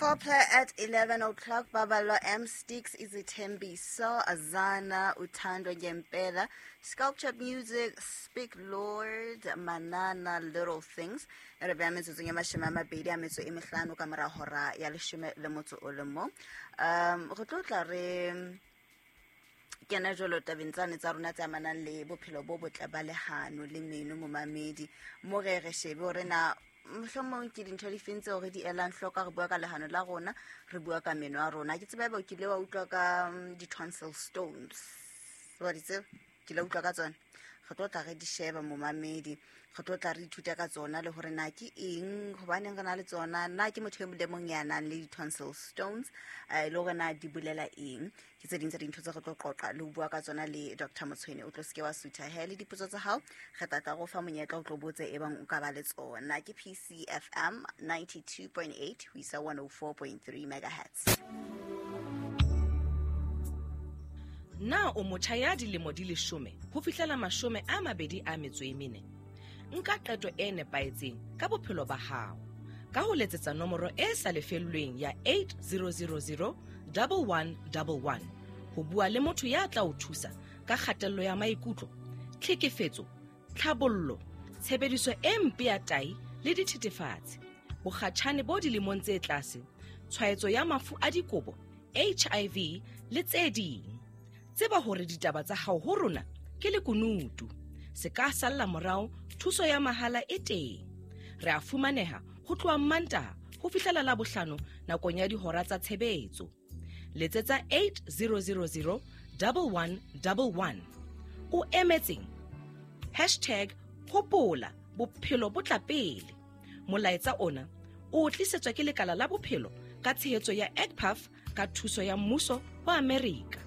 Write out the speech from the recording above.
Foreplay at 11 o'clock, Babalo M Sticks, Izithembiso, Azana, Uthando Ngempela, Sculpture Music, Speak Lord, Manana, Little Things. E re beya metsotsong ya mashome a mabedi a metso e mehlano ka mora hora ya leshome le motso o le mong. Re tlo tla re kena jalo tabeng tsane tsa rona tse amanang le bophelo bo botle ba lehano le meno, momamedi. Mo re re shebe hore na mohlomong ke dintho di feng tseo re di elang hloko, re bua ka lehano la rona, re bua ka meno a rona. Ke tseba ebe o kile wa utlwa ka di-tonsil stones, wa di tseba? Ke la utlwa ka tsona, re tlo tla re di sheba, momamedi, re tlo tla re ithuta ka tsona le hore na ke eng, hobaneng re na le tsona, na ke motho e mong le mong ya nang le di-tonsil stones, le hore na di bolela eng. Ke tse ding tsa dintho tse re tlo qoqa le ho bua ka tsona le Dr Motshwene. O tlo seke wa sutha he le dipotso tsa hao, re tla tla go fa monyetla o tlo botse e bang o ka ba le tsona. Ke PCFM 92.8 ho isa 104.3 megahertz. Na o motjha ya dilemo di 10 ho fihlela 24? Nka qeto e nepahetseng ka bophelo ba hao ka ho letsetsa nomoro e sa lefellweng ya 8000 1111 ho bua le motho ya tla o thusa ka kgatello ya maikutlo, tlhekefetso, tlhabollo, tshebediso e mpe ya tai le dithethefatsi, bokgatjhane bo dilemong tse tlase, tshwaetso ya mafu a dikobo, HIV le tse ding. Tseba hore ditaba tsa hao ho rona ke lekunutu. Se ka salla morao, thuso ya mahala e teng. Re a fumaneha ho tloha Mmantaha ho fihlela Labohlano nakong ya dihora tsa tshebetso. Letsetsa 8000 1111. O emetseng? Hashtag hopola bophelo bo tla pele. Molaetsa ona o tlisetswa ke lekala la bophelo ka tshehetso ya EGPAF ka thuso ya mmuso wa Amerika.